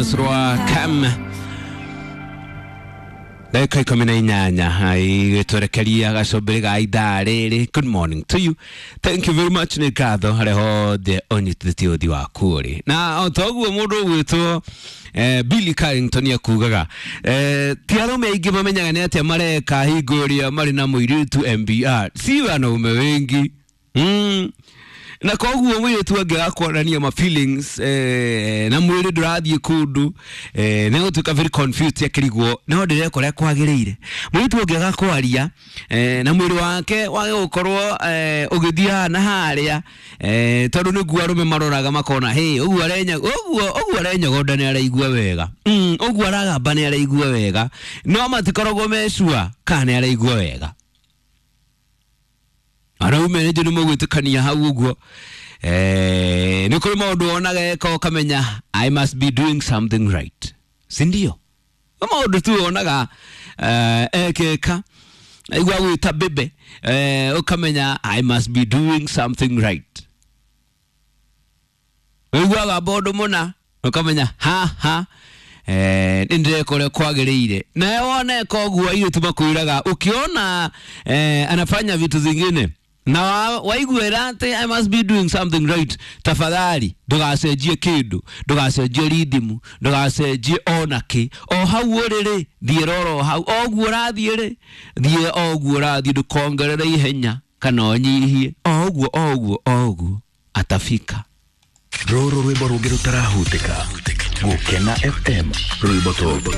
Rwa Cam ndagĩka 18 igĩtwerekeria gacũmbĩrĩ ga ithaa rĩrĩ. Good morning to you, thank you very much. Nĩ ngatho harĩa hothe ũnyitithĩtie ũthi waku ũrĩ na o ta ũguo. Mũndũ ũgwĩtwo Billy Carrington akugaga ti arũme aingĩ mamenyaga nĩ atĩa mareka hingo ĩrĩa marĩ na mũirĩtu mbr si wanaume wengi. Na koguo mũirĩtu angĩaga kuonania ma feelings na mwĩrĩ ndũrathiĩ kũndũ, nĩ gũtuĩka very confused, akĩrigwo no ndĩreka ũrĩa kwagĩrĩire. Mũirĩtu ũngĩaga kwaria na mwĩrĩ wake wage gũkorwo ũgĩthiĩ haha na harĩa, tondũ nĩguo arũme maroraga makona hĩ ũguo arenya ũguo ũguo arenyogonda nĩ araigua wega, ũguo aragamba nĩ araigua wega, no matikoragwo mecua kana nĩ araigua wega. Araume nĩ nĩ mũgwĩtĩkania hau ũguo, nĩ kũrĩ maũndũ wonaga eka ũkamenya I must be doing something right, si ndio? Nĩ maũndũ tu wonaga ekeka aigua gwĩta bebe, ũkamenya I must be doing something right. Ũiguaga ũndũ mũna ũkamenya ha ha nĩ ndĩreka ũrĩa kwagĩrĩire. Nawe wona eka ũguo, airĩtu makwĩraga ukiona anafanya vitu zingine na waiguĩra atĩ I must be doing something right, tafadhali ndũgacenjie kĩndũ, ndũgacenjie rithimu, ndũgacenjie ona kĩ. O hau ũrĩ rĩ, thiĩ roro hau o ũguo ũrathiĩ rĩ, thiĩ o ũguo ũrathiĩ, ndũkongerere ihenya kana ũnyihie, o ũguo o ũguo o ũguo atafika. Rũrũ rwĩmbo rũngĩ rũtarahutĩka. Gũkena FM, rwĩmbo top.